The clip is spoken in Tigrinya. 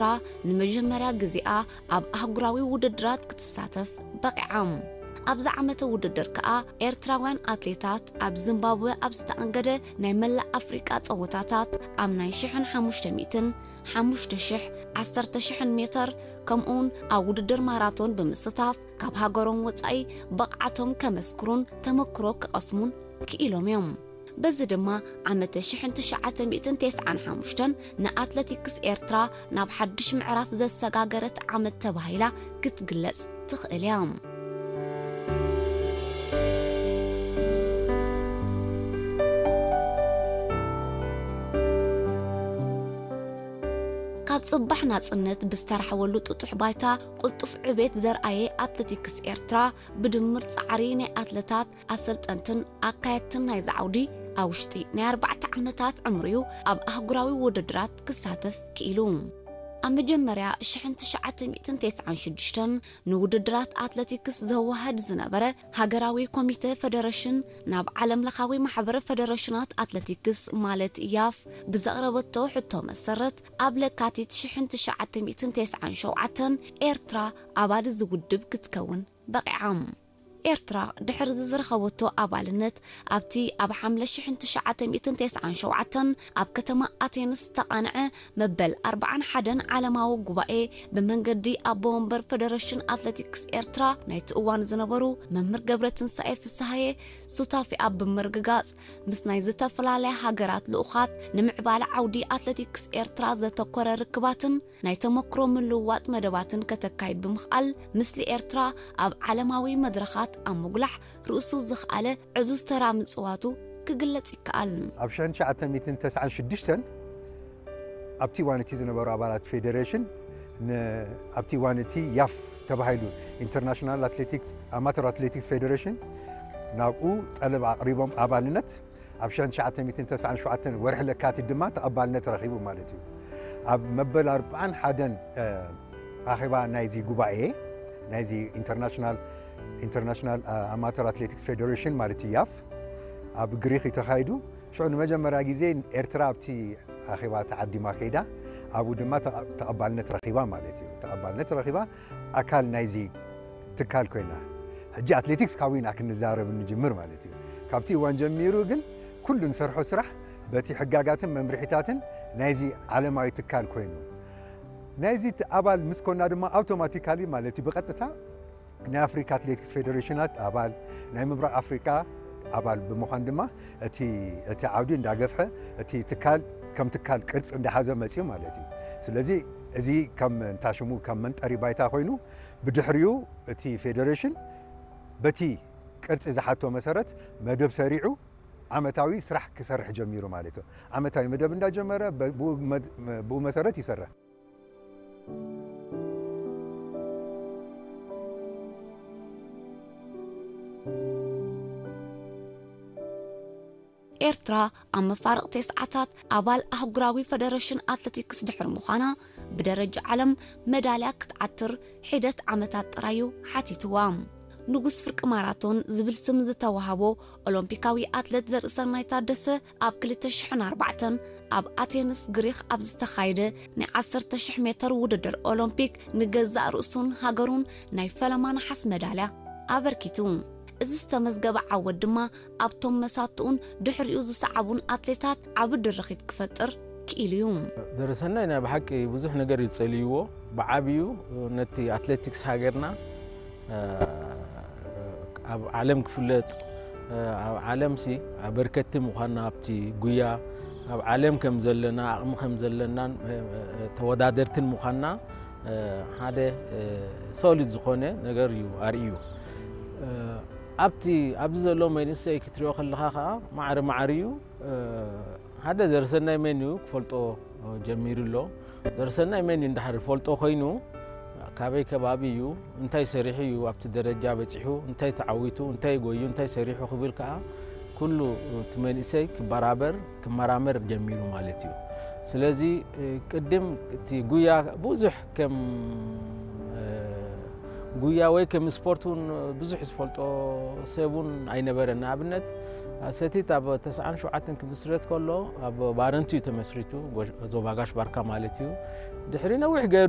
ኤርትራ ንመጀመርያ ግዜኣ ኣብ ኣህጉራዊ ውድድራት ክትሳተፍ በቒዓ። ኣብዚ ዓመተ ውድድር ከኣ ኤርትራውያን ኣትሌታት ኣብ ዚምባብወ ኣብ ዝተኣንገደ ናይ መላእ ኣፍሪቃ ጸወታታት ኣብ ናይ ሽሕን ሓሙሽተ ሚእትን፣ ሓሙሽተ ሽሕ፣ ዓሰርተ ሽሕን ሜተር ከምኡውን ኣብ ውድድር ማራቶን ብምስታፍ ካብ ሃገሮም ወጻኢ ብቕዓቶም ከመስክሩን ተመክሮ ክቐስሙን ክኢሎም እዮም። በዚ ድማ ዓመተ ሽሕን ትሽዓተ ሚእትን ተስዓን ሓሙሽተን ንኣትለቲክስ ኤርትራ ናብ ሓድሽ ምዕራፍ ዘሰጋገረት ዓመት ተባሂላ ክትግለጽ ትኽእል እያ። ካብ ጽባሕ ናጽነት ብዝተራሕወሉ ጥጡሕ ባይታ ቅልጡፍ ዕቤት ዘርኣየ ኣትለቲክስ ኤርትራ ብድምር ጻዕሪ ናይ ኣትለታት ኣሰልጠንትን ኣካየድትን ናይዚ ዓውዲ ኣብ ውሽጢ ናይ ኣርባዕተ ዓመታት ዕምሪኡ ኣብ ኣህጉራዊ ውድድራት ክሳተፍ ክኢሉ። ኣብ መጀመርያ ሽሕን ትሽዓተ ሚእትን ተስዓን ሽዱሽተን ንውድድራት ኣትለቲክስ ዘወሃድ ዝነበረ ሃገራዊ ኮሚተ ፈደረሽን ናብ ዓለም ለኻዊ ማሕበር ፈደረሽናት ኣትለቲክስ ማለት ያፍ ብዘቕረበቶ ሕቶ መሰረት ኣብ ለካቲት ሽሕን ትሽዓተ ሚእትን ተስዓን ሸውዓተን ኤርትራ ኣባል እዚ ውድብ ክትከውን በቒዓ። ኤርትራ ድሕሪ እዚ ዝረኸበቶ ኣባልነት ኣብቲ ኣብ ሓምለ ሽሕን ትሽዓተ ሚእትን ተስዓን ሸውዓተን ኣብ ከተማ ኣቴንስ ዝተቓንዐ መበል ኣርባዓን ሓደን ዓለማዊ ጉባኤ ብመንገዲ ኣቦ ወንበር ፈደረሽን ኣትለቲክስ ኤርትራ ናይቲ እዋን ዝነበሩ መምህር ገብረትንሳኤ ፍስሃየ ሱታፊኣ ብምርግጋጽ ምስ ናይ ዝተፈላለያ ሃገራት ልኡኻት ንምዕባለ ዓውዲ ኣትለቲክስ ኤርትራ ዘተኮረ ርክባትን ናይ ተመክሮ ምልውዋጥ መደባትን ከተካይድ ብምኽኣል፣ ምስሊ ኤርትራ ኣብ ዓለማዊ መድረኻት ኣብ ምጉላሕ ርእሱ ዘኽኣለ ዕዙዝ ተራ ምጽዋቱ ክግለጽ ይከኣል። ኣብ ሽሕን ትሽዓተ ሚእትን ተስዓን ሽዱሽተን ኣብቲ እዋን እቲ ዝነበሩ ኣባላት ፌዴሬሽን ን-፣ ኣብቲ እዋን እቲ ያፍ ተባሂሉ ኢንተርናሽናል ኣትሌቲክስ፣ ኣማተር ኣትሌቲክስ ፌዴሬሽን ናብኡ ጠለብ ኣቕሪቦም ኣባልነት ኣብ ሽሕን ትሽዓተ ሚእትን ተስዓን ሸውዓተን ወርሒ ለካቲት ድማ ተቐባልነት ረኺቡ ማለት እዩ። ኣብ መበል ኣርባዓን ሓደን፣ እ፣ ኣኼባ ናይዚ ጉባኤ፣ ናይዚ ኢንተርናሽናል፣ ኢንተርናሽናል፣ እ፣ ኣማተር ኣትሌቲክስ ፌዴሬሽን ማለት እዩ፣ ያፍ፣ ኣብ ግሪኽ እዩ ተኻይዱ። ሽዑ ንመጀመርያ ግዜ ኤርትራ ኣብቲ ኣኼባ ተዓዲማ ከይዳ፣ ኣብኡ ድማ ተቐ-፣ ተቐባልነት ረኺባ ማለት እዩ። ተቐባልነት ረኺባ ኣካል ናይዚ ትካል ኮይና፣ ሕጂ ኣትሌቲክስ ካብኡ ኢና ክንዛረብ እንጅምር ማለት እዩ። ካብቲ እዋን ጀሚሩ ግን ኩሉ ንሰርሖ ስራሕ በቲ ሕጋጋትን መምርሒታትን ናይዚ ዓለማዊ ትካል ኮይኑ፣ ናይዚ ት-፣ ኣባል ምስ ኮና ድማ ኣውቶማቲካሊ ማለት እዩ ብቐጥታ ናይ ኣፍሪካ ኣትሌቲክስ ፌዴሬሽናት ኣባል፣ ናይ ምብራቕ ኣፍሪካ ኣባል ብምዃን ድማ እቲ፣ እቲ ዓውዲ እንዳገፍሐ፣ እቲ ትካል ከም ትካል ቅርጺ እንዳሓዘ መጽዩ ማለት እዩ። ስለዚ እዚ ከም እንታሽሙ ከም መንጠሪ ባይታ ኮይኑ፣ ብድሕሪኡ እቲ ፌዴሬሽን በቲ ቅርጺ ዝሓቶ መሰረት መደብ ሰሪዑ ዓመታዊ ስራሕ ክሰርሕ ጀሚሩ ማለት እዩ። ዓመታዊ መደብ እንዳጀመረ በ-፣ ብኡ መድ-፣ ብኡ መሰረት ይሰርሕ። ኤርትራ ኣብ መፋርቕ ተስዓታት ኣባል ኣህጉራዊ ፈደረሽን ኣትለቲክስ ድሕሪ ምዃና፣ ብደረጃ ዓለም መዳልያ ክትዓትር ሒደት ዓመታት ጥራይ እዩ ሓቲትዋ። ንጉስ ፍርቂ ማራቶን ዝብል ስም ዝተዋህቦ ኦሎምፒካዊ ኣትለት ዘርእሰናይ ታደሰ ኣብ ክልተ ሽሕን ኣርባዕተን ኣብ ኣቴንስ ግሪኽ ኣብ ዝተኻየደ ናይ ዓሰርተ ሽሕ ሜተር ውድድር ኦሎምፒክ ንገዛእ ርእሱን ሃገሩን ናይ ፈለማ ነሓስ መዳልያ ኣበርኪቱ። እዚ ዝተመዝገበ ዓወት ድማ ኣብቶም መሳትኡን ድሕሪኡ ዝሰዓቡን ኣትሌታት ዓቢ ድርኺት ክፈጥር ክኢሉ እዩ። ዘርሰናይ ናይ ብሓቂ ብዙሕ ነገር እዩ ጸልይዎ። ብዓብዩ ነቲ ኣትሌቲክስ ሃገርና፣ እ፣ ኣብ ዓለም ክፍለጥ፣ እ፣ ኣብ ዓለምሲ ኣበርከቲ ምዃንና ኣብቲ ጉያ ኣብ ዓለም ከም ዘለና፣ ዓቕሚ ከም ዘለናን፣ እ፣ እ፣ ተወዳደርትን ምዃንና፣ እ፣ ሓደ፣ እ፣ ሶሊድ ዝኾነ ነገር እዩ ኣርእዩ። እ፣ ኣብቲ፣ ኣብዚ ዘሎ መንእሰይ ክትሪኦ ከለኻ ኸኣ ማዕረ ማዕረ እዩ። እ፣ ሓደ ዘርሰናይ መን እዩ ክፈልጦ ጀሚሩ ኣሎ። ዘርሰናይ መን እዩ እንድሕር ፈልጦ ኮይኑ፣ ካበይ ከባቢ እዩ፣ እንታይ ሰሪሑ እዩ ኣብቲ ደረጃ በጺሑ፣ እንታይ ተዓዊቱ፣ እንታይ ጎዩ፣ እንታይ ሰሪሑ ክብል ከኣ ኩሉ እቲ መንእሰይ ክበራበር፣ ክመራመር ጀሚሩ ማለት እዩ። ስለዚ፣ እ፣ ቅድም እቲ ጉያ ብዙሕ ከም፣ እ፣ ጉያ ወይ ከም ስፖርት እውን ብዙሕ ዝፈልጦ ሰብ እውን ኣይነበረን። ንኣብነት፣ ሰቲት ኣብ ተስዓን ሸውዓተን ክምስረት ከሎ ኣብ ባረንቱ እዩ ተመስሪቱ፣ ጎሽ-፣ ዞባ ጋሽ ባርካ ማለት እዩ። ድሕሪ ነዊሕ ገይሩ